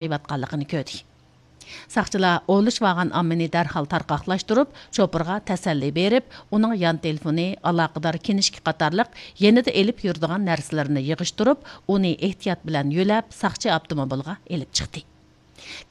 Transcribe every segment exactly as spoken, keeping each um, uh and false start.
قىلىۋاتقانلىقىنى كۆردى. ساقچىلار ئولىشىۋالغان ئاممىنى دەرھال تارقاقلاشتۇرۇپ، شوپۇرغا تەسەللى بېرىپ، ئۇنىڭ يان تېلېفونى، ئالاقىدار كىنىشكا قاتارلىق يېنىدا ئېلىپ يۈرىدىغان نەرسىلىرىنى يىغىشتۇرۇپ، ئۇنى ئېھتىيات بىلەن يۆلەپ، ساقچى ئاپتوموبىلغا ئېلىپ چىقتى.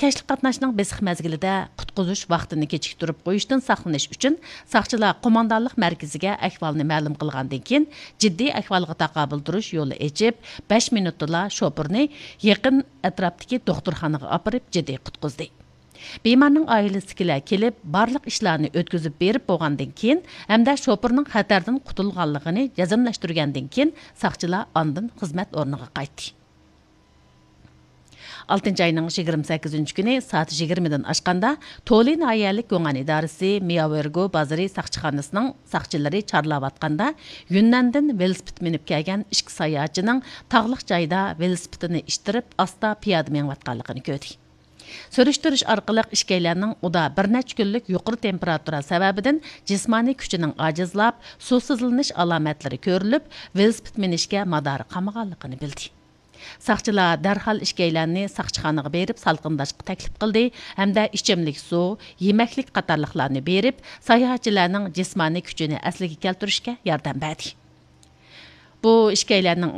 كەچلىك قاتناشنىڭ بېسىق مەزگىلىدە قۇتقۇزۇش ۋاقتىنى كېچىكتۈرۈپ قويۇشتىن ساقلىنىش ئۈچۈن، ساقچىلار قوماندانلىق مەركىزىگە ئەھۋالنى مەلۇم قىلغاندىن كېيىن، جىددىي ئەھۋالغا تاقابىل تۇرۇش يولى ئېچىپ، بەش مىنۇتتىلا شوپۇرنى يېقىن ئەتراپتىكى دوختۇرخانىغا ئاپىرىپ، جىددىي قۇتقۇزدى. بىمارنىڭ ئائىلىسىدىكىلەر كېلىپ، بارلىق ئىشلارنى ئۆتكۈزۈپ بېرىپ بولغاندىن كېيىن ھەمدە شوپۇرنىڭ خەتەردىن قۇتۇلغانلىقىنى جەزملەشتۈرگەندىن كېيىن، ساقچىلار ئاندىن خىزمەت ئورنىغا قايتتى. ئالتىنچى ئاينىڭ يىگىرمە سەككىزىنچى كۈنى سائەت يىگىرمىدىن ئاشقاندا، تولى ناھىيەلىك گۇڭئەن ئىدارىسى مياۋېرگو بازىرى ساقچىخانىسىنىڭ ساقچىلىرى چارلاۋاتقاندا، يۈننەندىن ۋېلىسىپىت مىنىپ كەلگەن ئىككى ساياھەتچىنىڭ تاغلىق جايدا ۋېلىسىپىتىنى ئىتتىرىپ، ئاستا پىيادە مېڭىۋاتقانلىقىنى كۆردى. سۈرۈشتۈرۈش ئارقىلىق ئىككىيلەننىڭ ئۇدا بىر نەچچە كۈنلۈك يۇقىرى تېمپېراتۇرا سەۋەبىدىن جىسمانىي كۈچىنىڭ ئاجىزلاپ، سۇسىزلىنىش ئالامەتلىرى كۆرۈلۈپ، ۋېلىسىپىت مىنىشكە مادارى قالمىغانلىقىنى بىلدى. ساقچىلار دەرھال ئىككىيلەننى ساقچىخانىغا بېرىپ سالقىنداشقا تەكلىپ قىلدى ھەمدە ئىچىملىك سۇ، يېمەكلىك قاتارلىقلارنى بېرىپ، ساياھەتچىلەرنىڭ جىسمانىي كۈچىنى ئەسلىگە كەلتۈرۈشكە ياردەم بەردى. بۇ ئىككىيلەننىڭ،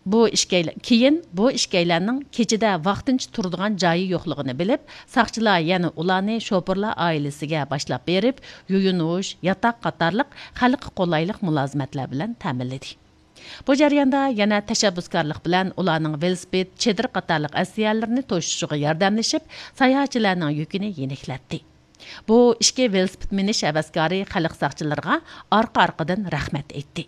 بۇ ئىككىيلەن، كېيىن بۇ ئىككىيلەننىڭ كېچىدە ۋاقتىنچە تۇرىدىغان جايى يوقلۇقىنى بىلىپ، ساقچىلار يەنە ئۇلارنى شوپۇرلار ئائىلىسىگە باشلاپ بېرىپ، يۇيۇنۇش، ياتاق قاتارلىق خەلققە قولايلىق مۇلازىمەتلەر بىلەن تەمىنلىدى. بۇ جەرياندا يەنە تەشەببۇسكارلىق بىلەن ئۇلارنىڭ ۋېلىسىپىت، چېدىر قاتارلىق ئەسلىھەلىرىنى توشۇشىغا ياردەملىشىپ، ساياھەتچىلەرنىڭ يۈكىنى يېنىكلەتتى. بۇ ئىككى ۋېلىسىپىت مىنىش ھەۋەسكارى خەلق ساقچىلىرىغا ئارقا-ئارقىدىن رەھمەت ئېيتتى.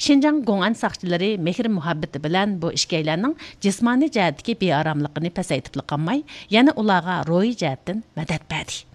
شىنجاڭ گوڭئەن ساقچىلىرى مېھىر-مۇھەببىتى بىلەن بۇ ئىككىيلەننىڭ جىسمانىي جەھەتتىكى بىئاراملىقىنى پەسەيتىپلا قالماي، يەنە ئۇلارغا روھىي جەھەتتىن مەدەت بەردى.